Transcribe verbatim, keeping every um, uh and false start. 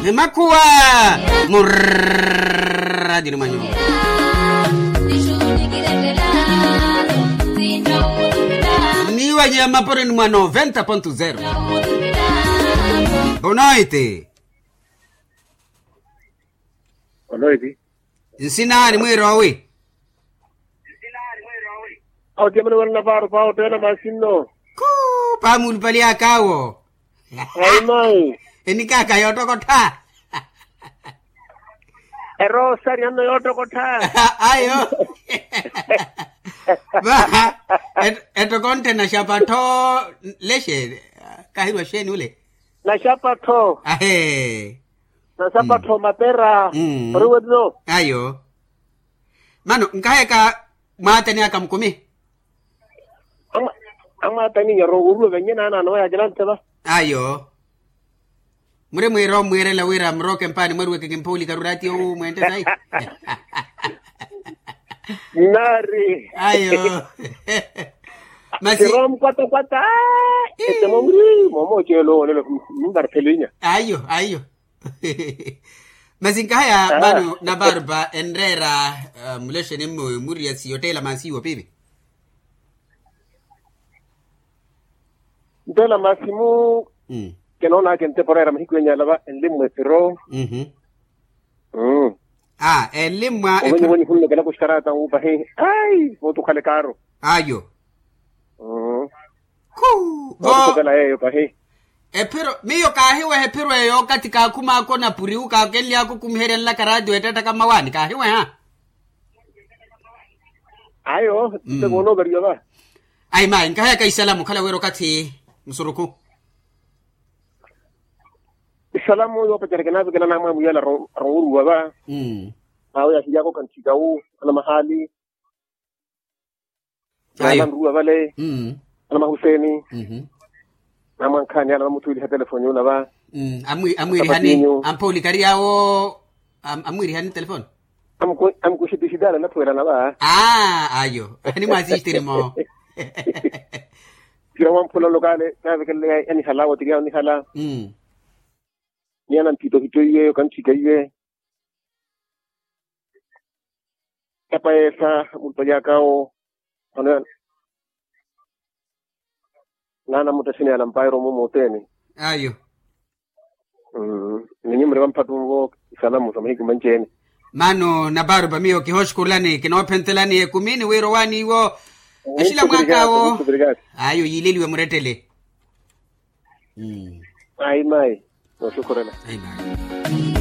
Emakhuwa murradi ni mwanyu. Niwanyama poreni mwa noventa ponto zero. Bonoiti. Bonoiti. Nsina ni mwirowi. Awo ti amene wana na paaro pawo tena masinno. Kuu paamulupali akaawo. Ayi mayi. Enikaka yootokottha. Erosari anno yootokottha. Ayo. Vaha. Ettokonthe naxapattho. Lexeeni. Kahirwa xeeni ule? Naxapattho. Ahee. Naxapattho mapera. Oriwetino. Ayo. Mano nkaheka. Mwaatani aka mukumi. Amwaatani nyaro oruwe venye naana anowe yakilantheva. Ayo. Muri mwiira omwiirela wira murooke mpaani mwaruweke kimpooli karurati owu mwente sayi. Nari ayo. Masi. Siro mkwatakwata. Ete momuri momo ocelo olelo. Mbarphelinya ayo ayo. Masi nkahaya vano navarpa enreera mulexeni mmowi muriasi yotteela maasi iwo piipi. Nteela maasi mu kenoonaka entepo oreera mahiku enyala va enlimmwa epiro. Enlimmwa. Ovenye epiro. Ovenye hunlokela kuxikarata wuupahi ai vooti okhala ekaaro. Ayo. Khu vo. Okhupela yeeyo pahi. Ephiro miyo kaahiweha ephiro eyo okathi kaakhum'aka onapuriwu kaakenly'aka okumiherya nlaka raatiyo ettattaka mmawaani kaahiweha. Ayo. Tte voona ovariwa va. Ayi mayi nkahayaka isalamu okhala wira okathi musurukhu. Isalamu yoopacerya kinaavikela naamwamwiya ala aronwuruwa va. Awo yaahiry'aka okanthikawu ana mahaali. Ayo. Ana nruwa vale. Ana mahuseeni. Namwankhaani ana vamuthuweliha telefoni yuna va. Amwiirihani amphooli kari yaawo. Amwiirihani telefoni. Amukuxitixitala nathuwelana va. Ayo animwaasixitiri mo. Kira wamphula nlokale navekelele yanihala wotiriyana onihala. Ni ana nthitohito iye okanthika iye. Epayesa mulupali akawo. Ano naana muttexini yalampayi romo mooteni. Ayo. Ninyi muri vamphattunvo isalamu sa mahiku manci-ene. Mano naparupa miyo kihooxukurulani kinoophentelani ekumi ni wira owaani iwo. Axila mwaakaawo. Ayo yiileliwe murettele. Ayi mayi. Nooxukhurela. Ayi mayi.